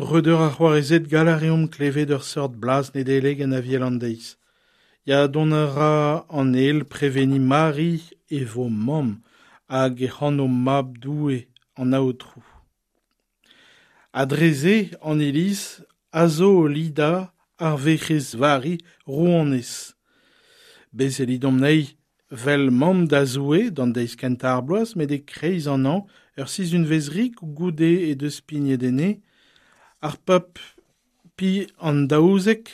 Breudeur ha c'hoarezed, gall a reomp klevet ur seurt blaz Nedeleg en Aviel an deiz. Ya, dont a ra an ael preveniñ Mari e vo mamm hag e c'hano Mab Doue an Aotrou. Ha dre-se an Iliz a zo o lidañ ar Werc'hez Vari rouanez. Bez' e lidomp anezhi 'vel mamm da Zoue d'an deiz kentañ ar bloaz met e-kreiz an hañv, ur sizhunvezh rik goude he deus pignet enne, ar pab Pi an daouzek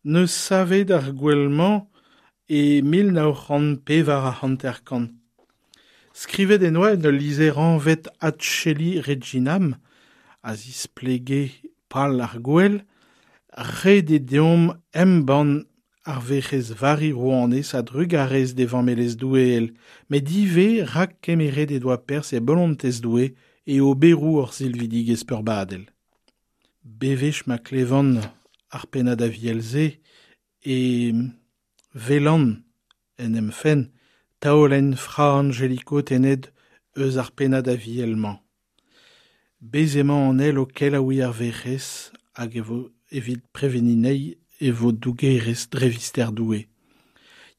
'neus savet ar gouel-mañ e 1954. Skrivet en doa en ul lizher anvet Ad Coeli Reginam a zisplege pal ar gouel, ret eo deomp embann ar Werc'hez Vari Rouanez a-drugarez d'e vammelezh doueel, met ivez rak kemeret he doa perzh e bolontez Doue e oberoù hor silvidigezh peurbadel. Bewech ma klevan ar pennad aviel-se e welan en em fenn taolenn Fra Angelico tennet eus ar pennad aviel-mañ. Bez' emañ an ael o kelaouiñ ar Werc'hez hag e vo evit preveniñ anezhi e vo dougerez dre vister Doue.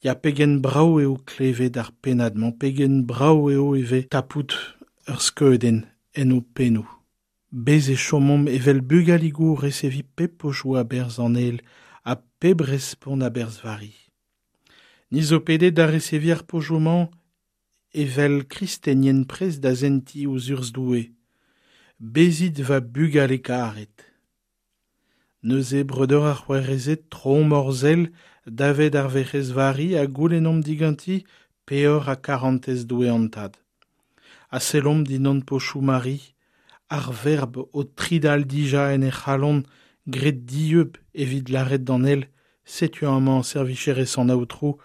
Ya, pegen brav eo klevet ar pennad-mañ, pegen brav eo ivez tapout ur skeudenn en ho pennoù. Bez' e chomomp evel bugaligoù o reseviñ pep pochoù a-berzh an ael ha pep respont a-berzh Vari. Ni zo pedet da reseviñ ar pochoù-mañ evel kristenien prest da sentiñ ouzh urzh Doue. Bezit va bugale karet. Neuze, breudeur ha c'hoarezed, troomp hor sell davet ar Werc'hez Vari ha goulennomp diganti peoc'h ha karantez Doue an Tad. Ha sellomp dindan pochoù Mari, ar Verb o tridal dija en he c'halon graet dieub evit lâret d'an ael setu amañ servicherez an Aotrou,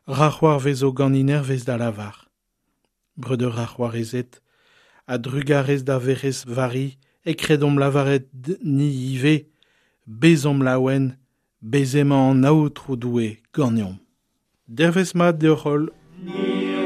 ra c'hoarvezo ganin hervez da lavar. Breudeur ha c'hoarezed, a-drugarez d'ar Werc'hez Vari e kredomp lavaret ni ivez, bezomp laouen, bez' emañ an Aotrou Doue ganeomp. Dervezh mat deoc'h-holl.